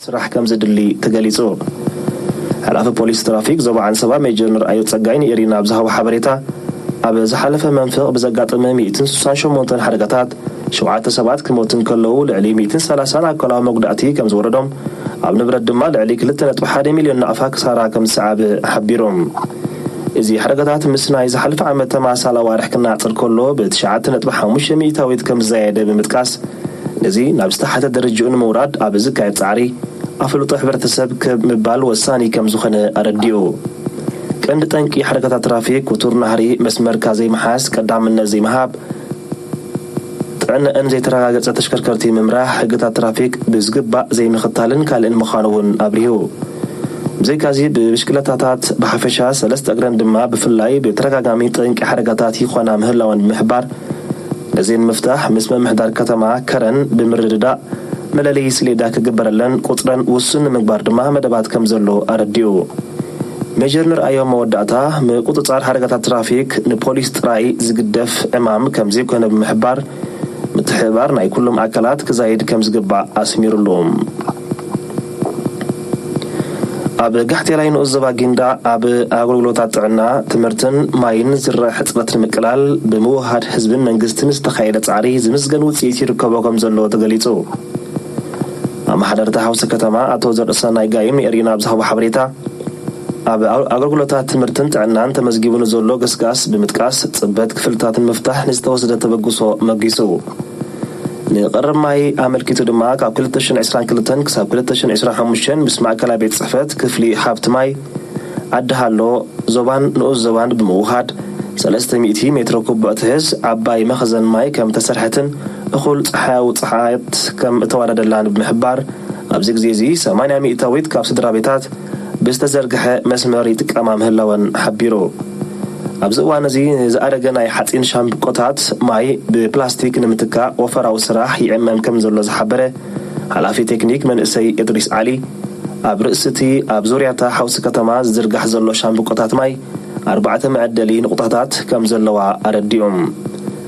ስራሕ ከም ዘድሊ ተገሊጹ። ሓላፊ ፖሊስ ትራፊክ ዞባ ዓንሰባ ሜጀር ንርኣዮ ጸጋይ ንኤሪና ኣብ ዝሃቦ ሓበሬታ፣ ኣብ ዝሓለፈ መንፈቕ ብዘጋጠመ ሚእትን ስሳን ሸሞንተን ሓደጋታት ሸውዓተ ሰባት ክሞቱ እንከለዉ፣ ልዕሊ ሚእትን ሰላሳን ኣካላዊ መጉዳእቲ ከም ዝወረዶም፣ ኣብ ንብረት ድማ ልዕሊ ክልተ ነጥቢ ሓደ ሚልዮን ናቕፋ ክሳራ ከም ዝሰዓበ ሓቢሮም። እዚ ሓደጋታት ምስ ናይ ዝሓለፈ ዓመት ተመሳሳሊ ኣዋርሕ ክነጻጸር ከሎ ብትሽዓተ ነጥቢ ሓሙሽተ ሚእታዊት ከም ዝዛየደ ብምጥቃስ፣ ነዚ ናብ ዝተሓተ ደረጃኡ ንምውራድ ኣብ ዝካየድ ጻዕሪ ኣፍልጦ ሕብረተሰብ ክህብ ምባል ወሳኒ ከም ዝኾነ ኣረዲኡ። ቀንዲ ጠንቂ ሓደጋታት ትራፊክ ክቱር ናህሪ መስመርካ ዘይምሓዝ፣ ቀዳምነት ዘይምሃብ፣ ጥዕነአን ዘይተረጋገጸ ተሽከርከርቲ ምምራሕ፣ ሕግታት ትራፊክ ብዝግባእ ዘይምኽታልን ካልእን ምዃኑ እውን ኣብሪሁ። ብዘይካዚ ብብሽክለታታት ብሓፈሻ ሰለስተ እግረን ድማ ብፍላይ ብተደጋጋሚ ጠንቂ ሓደጋታት ይኾና ምህላወን ብምሕባር፣ ነዚ ንምፍታሕ ምስ ምምሕዳር ከተማ ከረን ብምርድዳእ መለለዪ ስሌዳ ክግበረለን ቁጽረን ውሱን ንምግባር ድማ መደባት ከም ዘሎ ኣረዲኡ። ሜጀር ንርኣዮ መወዳእታ ምቁጽጻር ሓደጋታት ትራፊክ ንፖሊስ ጥራይ ዝግደፍ ዕማም ከም ዘይኮነ ብምሕባር፣ ምትሕብባር ናይ ኩሎም ኣካላት ክዛይድ ከም ዝግባእ ኣስሚሩሉ። ኣብ ጋሕቴላይ ንኡስ ዞባ ጊንዳዕ ኣብ ኣገልግሎታት ጥዕና፣ ትምህርትን ማይን ዝረአ ሕጽረት ንምቅላል ብምውሃድ ህዝብን መንግስትን ዝተኻየደ ጻዕሪ ዝምስገን ውጽኢት ይርከቦ ከም ዘሎ ተገሊጹ። ኣመሓደርቲ ሓውሲ ከተማ ኣቶ ዘርእሰናይ ጋይም ንኤሪና ኣብ ዝሃቦ ሓበሬታ፣ ኣብ ኣገልግሎታት ትምህርትን ጥዕናን ተመዝጊቡ ንዘሎ ገስጋስ ብምጥቃስ፣ ጽበት ክፍልታት ንምፍታሕ ንዝተወሰደ ተበግሶ መጊሱ። ንቐረብ ማይ ኣመልኪቱ ድማ ካብ ክልተ ሽሕን ዕስራን ክልተን ክሳብ ክልተ ሽሕን ዕስራን ሓሙሽተን ምስ ማእከላይ ቤት ጽሕፈት ክፍሊ ሃብቲ ማይ ዓዲ ሃሎ ዞባን ንኡስ ዞባን ብምውሃድ ሰለስተ ሚእቲ ሜትሮ ኩቡዕ ትሕዝ ዓባይ መኽዘን ማይ ከም ተሰርሐትን እኹል ጸሓያዊ ጸሓያት ከም እተዋደደላን ብምሕባር፣ ኣብዚ ግዜ እዚ ሰማንያ ሚእታዊት ካብ ስድራ ቤታት ብዝተዘርግሐ መስመር ይጥቀማ ምህላወን ሓቢሩ። ኣብዚ እዋን እዚ ንዝኣረገ ናይ ሓጺን ሻምብቆታት ማይ ብፕላስቲክ ንምትካእ ወፈራዊ ስራሕ ይዕመም ከም ዘሎ ዝሓበረ ሓላፊ ቴክኒክ መንእሰይ እድሪስ ዓሊ፣ ኣብ ርእሲ እቲ ኣብ ዙርያታ ሓውሲ ከተማ ዝዝርጋሕ ዘሎ ሻምብቆታት ማይ ኣርባዕተ መዐደሊ ንቑጣታት ከም ዘለዋ ኣረዲኦም።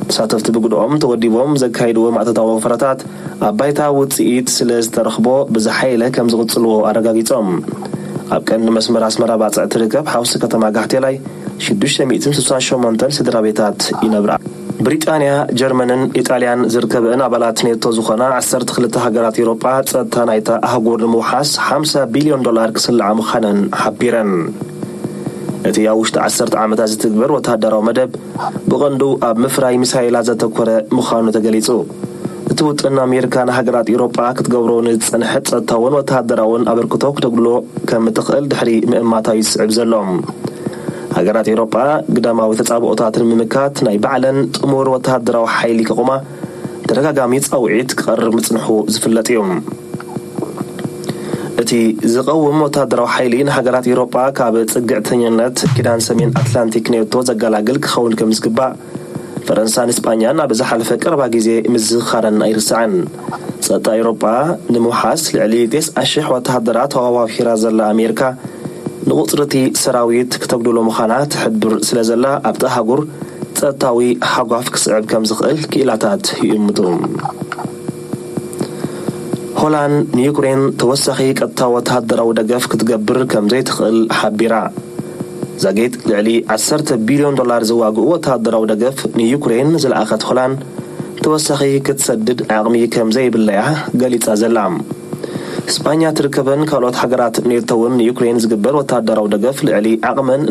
ተሳተፍቲ ብግድኦም ተወዲቦም ዘካይድዎ ማእቶታዊ ወፈራታት ኣብ ባይታ ውጽኢት ስለ ዝተረኽቦ ብዝሓየለ ከም ዝቕጽልዎ ኣረጋጊጾም። ኣብ ቀንዲ መስመር ኣስመራ ባጽዕ ትርከብ ሓውሲ ከተማ ጋሕቴላይ ሽዱሽተ ሚእትን ስሳን ሸሞንተን ስድራ ቤታት ይነብራ። ብሪጣንያ፣ ጀርመንን ኢጣልያን ዝርከበን ኣባላት ኔቶ ዝኾና ዓሰርተ ክልተ ሃገራት ኤውሮጳ ጸጥታ ናይታ ኣህጉር ንምውሓስ ሓምሳ ቢልዮን ዶላር ክስልዓ ምዃነን ሓቢረን። እቲ ኣብ ውሽጢ ዓሰርተ ዓመታት ዝትግበር ወተሃደራዊ መደብ ብቐንዱ ኣብ ምፍራይ ሚሳይላት ዘተኮረ ምዃኑ ተገሊጹ። እቲ ውጥን ኣሜሪካ ንሃገራት ኤውሮጳ ክትገብሮ ንዝጸንሐት ጸጥታውን ወተሃደራውን ኣበርክቶ ክተጉድሎ ከም እትኽእል ድሕሪ ምእማታ እዩ ዝስዕብ ዘሎ። ሃገራት ኤውሮጳ ግዳማዊ ተጻብኦታት ንምምካት ናይ ባዕለን ጥሙር ወተሃደራዊ ሓይሊ ክቑማ ተደጋጋሚ ጻውዒት ክቐርብ ምጽንሑ ዝፍለጥ እዩ። እቲ ዝቐውም ወተሃደራዊ ሓይሊ ንሃገራት ኤውሮጳ ካብ ጽግዕተኛነት ኪዳን ሰሜን ኣትላንቲክ ኔቶ ዘገላግል ክኸውን ከም ዝግባእ ፈረንሳን እስጳኛን ኣብ ዝሓለፈ ቀረባ ግዜ ምዝኽኻረን ኣይርሳዕን። ጸጥታ ኤውሮጳ ንምውሓስ ልዕሊ ተስዓ ሽሕ ወተሃደራት ኣዋፊራ ዘላ ኣሜሪካ፣ ንቑጽሪ እቲ ሰራዊት ክተጉድሎ ምዃና ትሕብር ስለ ዘላ፣ ኣብቲ ኣህጉር ጸጥታዊ ሃጓፍ ክስዕብ ከም ዝኽእል ክኢላታት ይእምቱ። ሆላንድ ንዩክሬን ተወሳኺ ቀጥታዊ ወተሃደራዊ ደገፍ ክትገብር ከም ዘይትኽእል ሓቢራ። ዛጌት ልዕሊ ዓሰርተ ቢልዮን ዶላር ዝዋግኡ ወተሃደራዊ ደገፍ ንዩክሬን ዝለኣኸት ሆላንድ፣ ተወሳኺ ክትሰድድ ዓቕሚ ከም ዘይብላ እያ ገሊጻ ዘላ። ስጳኛ ትርከበን ካልኦት ሃገራት ኔቶ እውን ንዩክሬን ዝግበር ወተሃደራዊ ደገፍ ልዕሊ ዓቕመን